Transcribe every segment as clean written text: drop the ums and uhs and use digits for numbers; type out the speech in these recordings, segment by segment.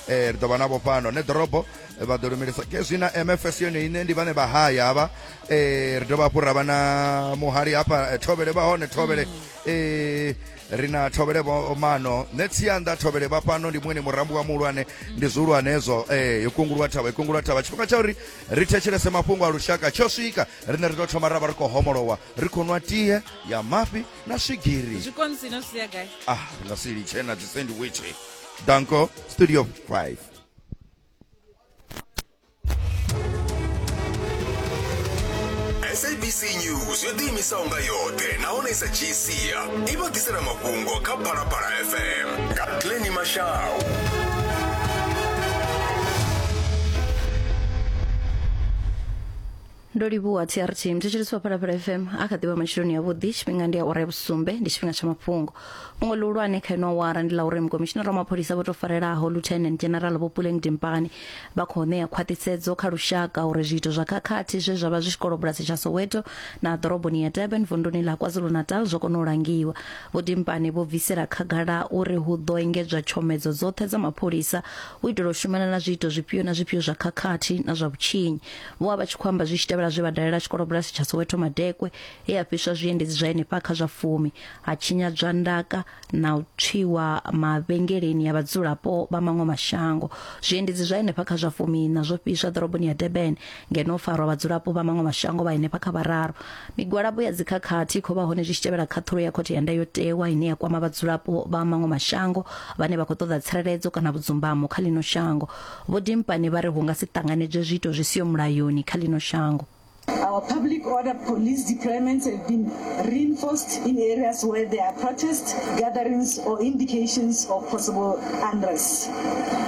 Ri ḓo vha navho fhano ne ḓorobo vha ḓo lumelisa kezwi na MFS yone ine ndi vhane vha haya havha. Ri dovha hafhu ra vha na muhali hafha, Thovhele vha hone, Thovhele. Ri na Thovhele vho Mano nṋe Tsianda, Thovhele vha fhano ndi muṅwe murambo wa muhulwane, ndi zwihulwane hezwo. Yo kungulwa thavha, yo kungulwa thavha. Tshifhinga tsha uri ri thetshelese mafhungo a lushaka tsho swika. Riṋe ri tou thoma ra vha ri khou homolowa, ri khou nwa tie ya mafhi na swigiri. Zwikonisi no sia gai? Ah, ri nga si litshe na dzi sandwich. Danko studio 5. SABC News yo ḓiimisaho nga yoṱhe nahone i sa dzhii sia i vha ḓisela mafhungo kha Phalaphala FM nga Glenny Mashau. Ndo livhuwa TRT. Mthetshelesi wa Phalaphala FM a kha ḓivha matsheloni avhuḓi. Tshifhinga ndi awara ya vhusumbe, ndi tshifhinga tsha mafhungo. Fhungo ḽihulwane kha ino awara ndi ḽa uri mukomishinara wa mapholisa vho tou farelaho Lieutenant General Vho Puleng Dimpane vha khou ṋea khwaṱhisedzo kha lushaka uri zwiito zwa khakhathi zwe zwa vha zwi tshikolobulasi tsha Soweto na ḓoroboni ya Durban vunduni ḽa KwaZulu-Natal zwo kona u langiwa. Vho Dimpane vho bvisela khagala uri hu ḓo engedzwa tshomedzo dzoṱhe dza mapholisa u itela u shumana na zwiito zwifhio na zwifhio zwa khakhathi na zwa vhutshinyi. Vho vha vha tshi khou amba zwi tshi tevhela zwe vha dalela tshikolobulasi tsha Soweto Madekwe he ha fhiswa zwiendedzi zwa henefha kha zwa fumi, ha tshinyadzwa ndaka na u tswiwa mavhengeleni ya vhadzulapo vha maṅwe mashango. Zwiendedzi zwa henefha kha zwa fumiiṋa zwo fhiswa ḓoroboni ya Durban ngeno ho farwa vhadzulapo vha maṅwe mashango vha henefha kha vhararu. Migwalabo ya dzikhakhathi i khou vha hone zwi tshi tevhela khaṱhulo ya khothe ya ndayotewa ine ya kwama vhadzulapo vha maṅwe mashango vhane vha khou ṱoḓa tsireledzo kana vhudzumbamo kha ḽino shango. Vho Dimpane vha ri hu nga si ṱanganedzwe zwiito zwi siho mulayoni kha ḽino shango. Our public order police deployments have been reinforced in areas where there are protest gatherings or indications of possible unrest.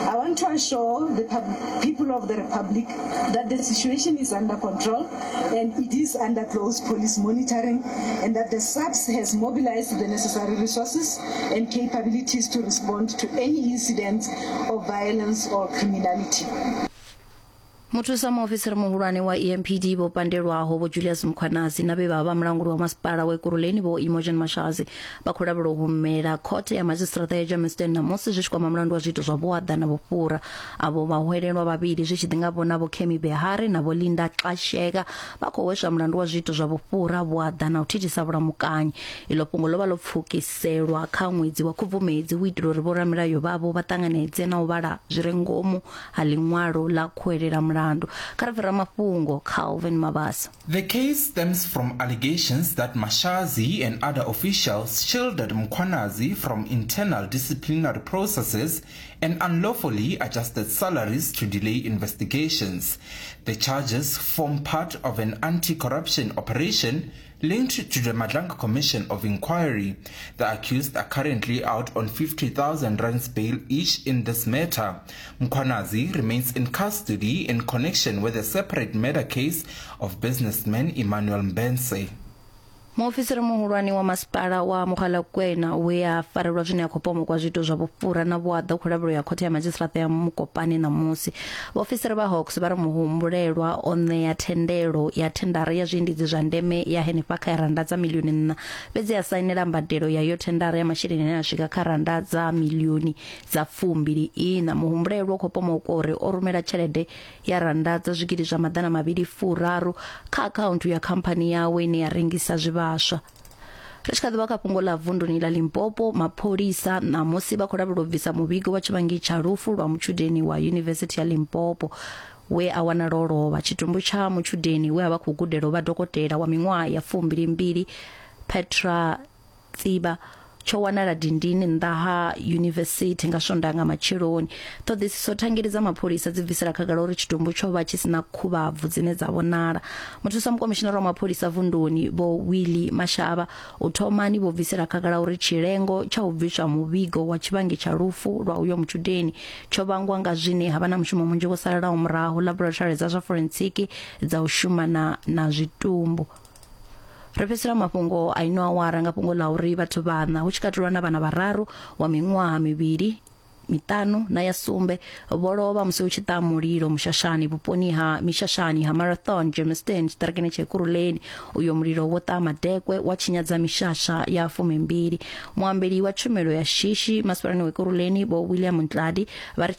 I want to assure the people of the Republic that the situation is under control and it is under close police monitoring, and that the SAPS has mobilized the necessary resources and capabilities to respond to any incidents of violence or criminality. Muthusa muofisiri muhulwane wa EMPD vho pandelwaho Vho Julius Mkhwanazi na vhe vha vha mulanguli wa masipala wa Ekurhuleni Vho Imogen Mashazi vha khou lavhelwa u humela khothe ya madzhisiṱiraṱa ya Germiston ṋamusi zwi tshi kwama mulandu wa zwiito zwa vhuaḓa na vhufhura. Avho vhahwelelwa vhavhili zwi tshi ḓi nga vhona Vho Kemi Behari na Vho Linda Xasheka vha khou hweswa mulandu wa zwiito zwa vhufhura, vhuaḓa na u thithisa vhulamukanyi. Iḽo fhungo ḽo vha ḽo pfukiselwa kha ṅwedzi wa Khubvumedzi u itela uri vhoramilayo vhavho vha ṱanganedze na u vhala zwi re ngomu ha ḽiṅwalo ḽa khuwelela mulandu. Kha ri bve ramafhungo Calvin Mabasa. The case stems from allegations that Mashazi and other officials shielded Mkhwanazi from internal disciplinary processes and unlawfully adjusted salaries to delay investigations. The charges form part of an anti-corruption operation linked to the Madlanga Commission of Inquiry. The accused are currently out on 50,000 rands bail each in this matter. Mkhwanazi remains in custody in connection with a separate murder case of businessman Emmanuel Mbense. Muofisiri muhulwane wa masipala wa Mogalakwena we a farelwa zwine a khou pomokwa zwiito zwa vhufhura na vhuaḓa u khou lavhelwa ya khothe ya madzhisiṱiraṱa ya Mokopane ṋamusi. Vhaofisiri vha Hawks vha ri muhumbulelwa o ṋea thendelo ya thendara ya zwiendedzi zwa ndeme ya henefha kha rannda dza milioni nṋa, fhedzi a sainela mbadelo ya iyo thendara ya masheleni ane a swika kha rannda dza milioni dza fumbili iṋa. Muhumbulelwa u khou pomokwa uri o rumela tshelede ya rannda dza zwigidi zwa maḓana mavhili furaru kha akhaunthu ya khamphani yawe ine ya rengisa zwivhaswa. Ri tshi kha ḓi vha kha fhungo ḽa vunduni ḽa Limpopo, mapholisa ṋamusi vha khou lavhelwa u bvisa muvhigo wa tshivhangi tsha lufu lwa mutshudeni wa Yunivesithi ya Limpopo we a wanala o lovha. Tshitumbu tsha mutshudeni we a vha khou gudela u vha dokotela wa miṅwaha ya fumbili mbili Petra Tsiba tsho wanala dindini nnḓa ha yunivesithi nga Swondaha nga matsheloni. Ṱhoḓisiso thangeli dza mapholisa dzi bvisela khagala uri tshitumbu tsho vha tshi si na khuvhabvu dzine dza vhonala. Muthusa mukomishinara wa mapholisa vunduni Vho Willie Mashaba u thomani vho bvisela khagala uri tshilengo tsha u bviswa muvhigo wa tshivhangi tsha lufu lwa uyo mutshudeni tsho vhangwa nga zwine ha vha na mushumo munzhi wo salelaho murahu laboratory dza zwa forentsiki dza u shumana na zwitumbu. Ri fhedzisela mafhungo a ino awara nga fhungo ḽa uri vhathu vhaṋa hu tshi katelwa na vhana vhararu wa miṅwaha mivhili, miṱanu na ya sumbe vho lovha musi hu tshi ṱaha mulilo mushashani vhuponi ha mishashani ha Marathon Germiston tshiṱirikini tsha Ekurhuleni. Uyo mulilo wo ṱaha madekwe wa tshinyadza mishasha ya fumimbili. Muambeli wa tshumelo ya shishi masipalani wa Ekurhuleni Vho William Ntladi vha ri